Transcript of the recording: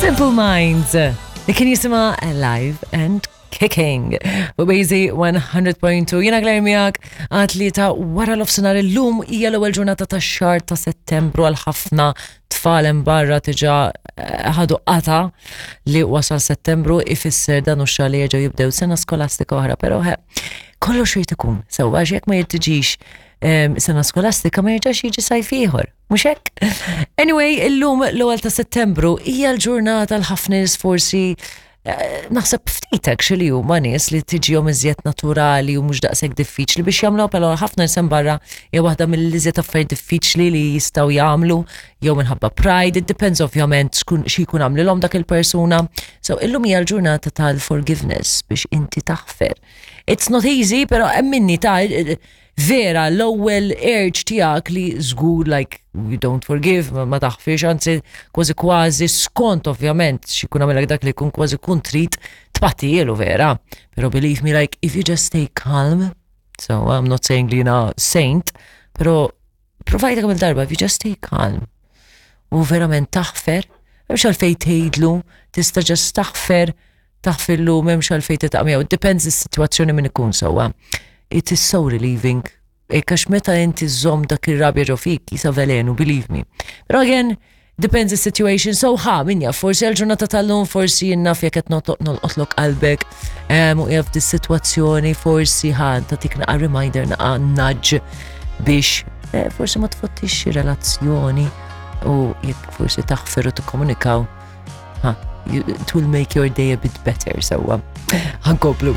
Simple Minds li kien jisimha Alive and Kicking. U Bazy 100.2 jiena Claire miegħek għad li ta' wara l-ofsinhar illum hija l-ewwel ġurnata tax-xahar ta' Settembru għal ħafna tfal hemm barra diġà eh, ħadu qata li wasal Settembru ifisser dan u xahar li jerġgħu jibdew sena skolastika oħra, però kollox irid ikun sewwa għax jekk ma jirtiġix sena skolastika ma jerġax jiġi sajf ieħor. Mhux hekk? Anyway, illum l-ewwel ta' Settembru hija l-ġurnata l-ħafna nies forsi eh, naħseb ftit actually huma nies li tiġihom iżjed naturali u mhux daqshekk diffiċli biex jagħmlu però ħafna nies barra hija waħda mill-iżjed affarijiet diffiċli li jistgħu jagħmlu jew minħabba pride, it depends ovvjament xi jkun għamlilhom dak il-persuna. So illum hija l-ġurnata tal-forgiveness biex inti taħfer. It's not easy, pero emminni ta' vera l-ewwel urge tiegħek li żgur like you don't forgive, ma taħfirx, anzi kważi kważi skont ovvjament x'ikun għamilek dak li jkun kważi kun trid tpattijielu vera. Pero believe me like if you just stay calm, so I'm not saying li jiena saint, pero provajta kemm il-darba if you just stay calm u verament taħfer, hemmx għalfejn tgħidlu, tista' just taħfer taħfirlu m'hemmx għalfejn titaq miegħu. Depends is-sitwazzjoni min ikun sewwa. It is so relieving. Għax meta inti żomm dak ir-rabja ġo fik, jisa velenu, believe me. Pero again, depends the situation. So ħa, min jaf, forsi għal-ġurnata tal-lum, forsi jinnaf jekk qed nolqotlok qalbek, u jaf dis-sitwazzjoni, forsi ħa, tatik naqa reminder, naqa nudge biex eh, forsi ma tfottix xi relazzjoni u jekk forsi taħfer u tikkomunikaw Ha, it will make your day a bit better, sewwa. Ħankomplu.